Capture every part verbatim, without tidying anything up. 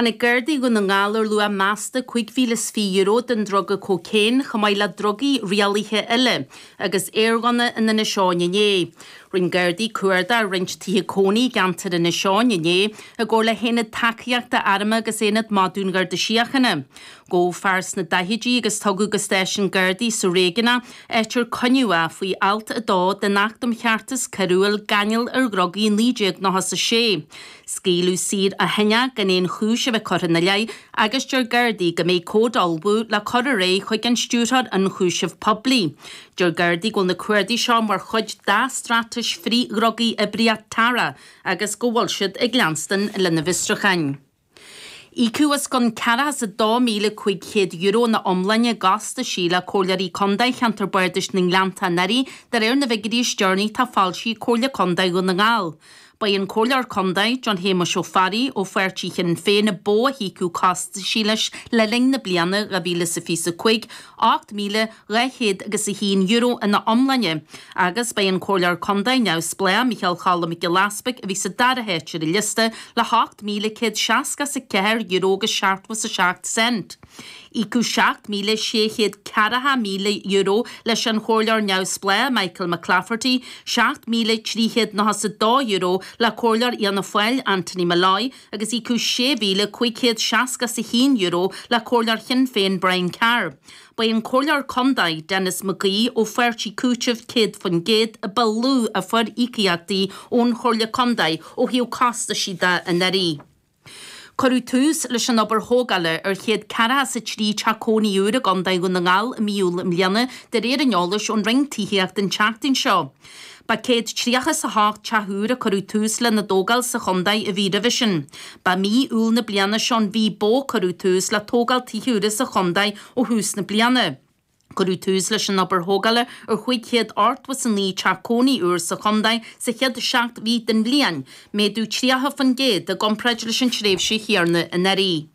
Tháinig Gardaí Dhún na nGall ar luach measta cúig mhíle is fiche euro den druga cócaon chomh maith le drugaí rialaithe eile agus aerghunna in Inis Eoghain inné. Rinne Gardaí cuardach ar roinnt tithe cónaí i gceantar Inis Eoghain inné i gcomhar le hAonad Tacaíochta Arm agus Aonad Madadh an Gharda Síochána. Gabhadh fear sna daichidí agus tugadh go stáisiún Gardaí sa Réigiún áit ar coinníodh é faoi alt a dó den Acht um Cheartas Coiriúil Gáinneáil ar Dhrugaí naoi déag nócha a sé. Scaoileadh saor ó shin é gan aon chúis a bheith curtha ina leith agus deir Gardaí go mbeidh comhad á ullmhú le cur ar aghaidh chuig an Stiúrthóir Ionchúiseamh Poiblí. Deir Gardaí go bhfuil na cuardaigh seo mar chuid dá straitéis frith-dhrugaí Oibríocht Tara agus go bhfuil siad ag leanstan lena bhfiosrúcháin. Íocadh os cionn ceathracha is a dó míle cúig chéad euro ina iomláine i gcostaisí le Comhairleoirí Contae Cheantar Bardais na nGleannta anuraidh de réir na bhfigiúirí is deireanaí atá foilsithe ag Comhairle Contae Dhún na nGall. Ba é an Comhairleoir Contae, John Shéamuis Ó Fearraigh, ó pháirtí Shinn Féin a ba mhó a híocadh costaisí leis le linn na bliana dhá mhíle is a fiche a cúig, ocht míle dhá chéad agus a haon euro ina iomláine, agus ba é an Comhairleoir Contae neamhspleách, Micheál Cholm Mac Giolla Easpaig, a bhí sa dara háit ar an liosta le hocht míle céad seasca is a ceathair euro agus seachtó is a seacht cent. Íocadh seacht míle sé chéad ceathracha míle euro leis an Chomhairleoir neamhspleách Michael McClafferty, seacht míle trí chéad nócha is a dó euro le Comhairleoir Fhianna Fáil Anthony Molloy agus íocadh sé mhíle cúig chéad seasca is a haon euro le Comhairleoir Shinn Féin Brian Carr. Ba é an Comhairleoir Contae Denis McGee ó pháirtí Cúiteamh céad faoin gcéad a ba lú a fuair íocaíochtaí ón Chomhairle Contae ó thaobh costaisí de anuraidh. Cuireadh tús leis an obair thógála ar chéad ceathracha is a trí teach cónaí úr i gContae Dhún na nGall i mí Iúil i mbliana, de réir an eolais ón Roinn Tithíochta an tseachtain seo. Ba céad tríocha is a hocht teach úr a cuireadh tús lena dtógáil sa chontae an mhí roimhe sin. Ba mí Iúil na bliana seo an mhí ba mhó a cuireadh tús le tógáil tithe úra sa chontae ó thús na bliana. Cuireadh tús leis an obair thógála ar chúig chéad ochtó is a naoi teach cónaí úr sa chontae sa chéad seacht mhí den bhliain, méadú tríocha faoin gcéad i gcomparáid leis an tréimhse chéanna anuraidh.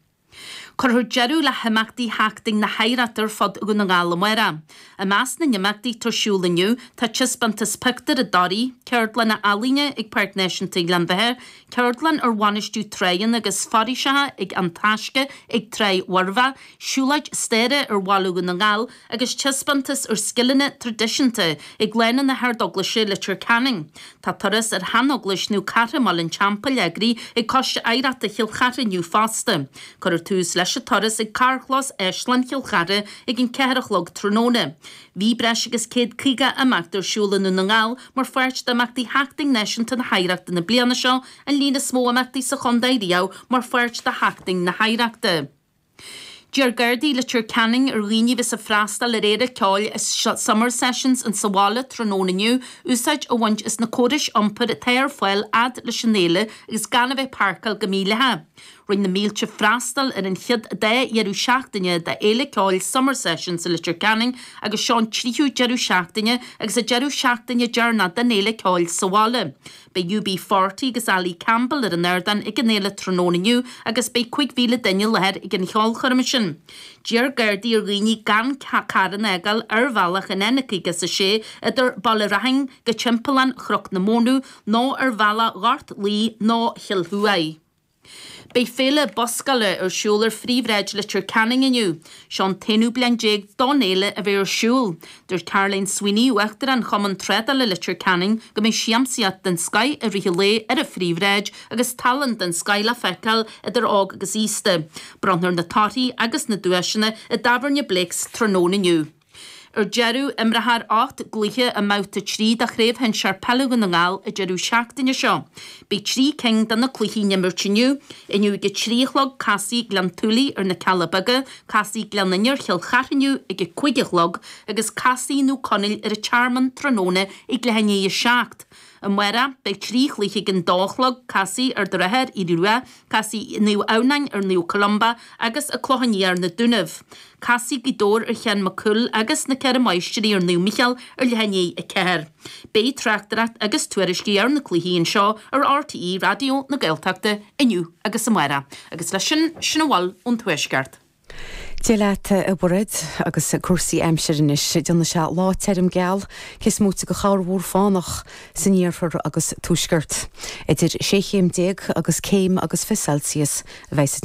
Cuirfear deireadh le himeachtaí Sheachtain na hOidhreachta ar fud Dhún na nGall amárach. I measc na n-imeachtaí atá ar siúl inniu tá taispeántas pictiúr i dToraigh, ceardlanna ealaíne ag Páirc Náisiúnta Ghleann Bheatha, ceardlann ar bhainistiú tráigheanna agus foraoiseacha ag An Taisce ag Tráigh Mhuirbheach, siúlóid staire ar bhaile Dhún na nGall agus taispeántas ar scileanna traidisiúnta ag Lána na hArdeaglaise, Leitir Ceanainn. Tá turas ar sheaneaglais Naomh Cartha i mBaile an Teampaill eagraithe ag Coiste Oidhreachta Chill Chartha inniu fosta. Cuirfear tús leis an turas ag carrchlós Áislann Chill Chartha ag an ceathair a chlog tráthnóna. Bhí breis agus céad caoga imeacht ar siúl i nDún na nGall mar pháirt d'imeachtaí Sheachtain Náisiúnta na hOidhreachta na bliana seo, an líon is mó imeachtaí sa chontae riamh mar pháirt de Sheachtain na hOidhreachta. D'iarr Gardaí Leitir Ceanainn ar dhaoine a bheas ag freastal ar fhéile ceoil Summer Sessions in sa bhaile tráthnóna inniu úsáid a bhaint as na córais iompair atá ar fáil fhad leis an fhéile agus gan a bheith ag páirceáil go mídhleathach. Rinne na mílte freastal ar an chéad dá dheireadh seachtaine d'fhéile ceoil Summer Sessions i Leitir Ceanainn agus seo an tríú deireadh seachtaine agus an deireadh seachtaine deireanach den fhéile ceoil sa bhaile. Beidh U B forty agus Ali Campbell ar an ardán ag an fhéile tráthnóna inniu agus beidh cúig mhíle duine i láthair ag an cheolchoirm sin. D'iarr Gardaí ar dhaoine gan carranna a fhágáil ar bhealach an N caoga is a sé idir Baile Raithin go Timpeallán Chnoc na Mónadh nó ar bhealach Ghort Laoi nó Chill Thuaidh. Beidh féile buscála ar siúl ar phríomhshráid Leitir Ceanainn inniu. Seo an t-aonú bliain déag don fhéile a bheith ar siúl. Dúirt Caroline Sweeney, Uachtarán Chumann Trádála Leitir Ceanainn, go mbeidh siamsaíocht den scoith i rith an lae ar an phríomhshráid agus tallann den scoith le feiceáil idir óg agus aosta. Bronnfar na torthaí agus na duaiseanna i dTábhairne Blake's tráthnóna inniu. Ar deireadh, imreofar ocht gcluiche i mbabhta trí de Chraobh Shinsir Peile Dhún na nGall an deireadh seachtaine seo. Beidh trí cinn de na cluichí á n-imirt inniu. Inniu ag a trí a chlog, casfaidh Gleann tSúilí ar na Cealla Beaga, casfaidh Gleann Fhinne ar Chill Chartha inniu ag a cúig a chlog agus casfaidh Naomh Conaill ar an Tearmann tráthnóna ag leath i ndiaidh a seacht. Amárach, beidh trí chluiche ag an dó a chlog, casfaidh Ard an Rátha ar Aodh Rua, casfaidh Naomh Adhamhnáin ar Naomh Columba agus An Clochán Liath ar na Dúnaibh. Casfaidh Gaoth Dobhair ar Sheán Mac Cumhaill agus na Ceithre Máistrí ar Naomh Mícheál ar leath i ndiaidh a ceathair. Beidh tráchtaireacht agus tuairiscí ar na cluichí anseo ar R T E Raidió na Gaeltachta inniu agus amárach. Agus leis sin, sin a bhfuil ón Tuaisceart. Dia leat, a Mhairéad, agus cúrsaí aimsire anois. Déanfaidh sé lá tirim geal, cé is móite de chorrmhúr fánach san iarthar agus tuaisceart. Idir sé chéim déag agus céim agus fiche Celsius a bheidh sa teocht.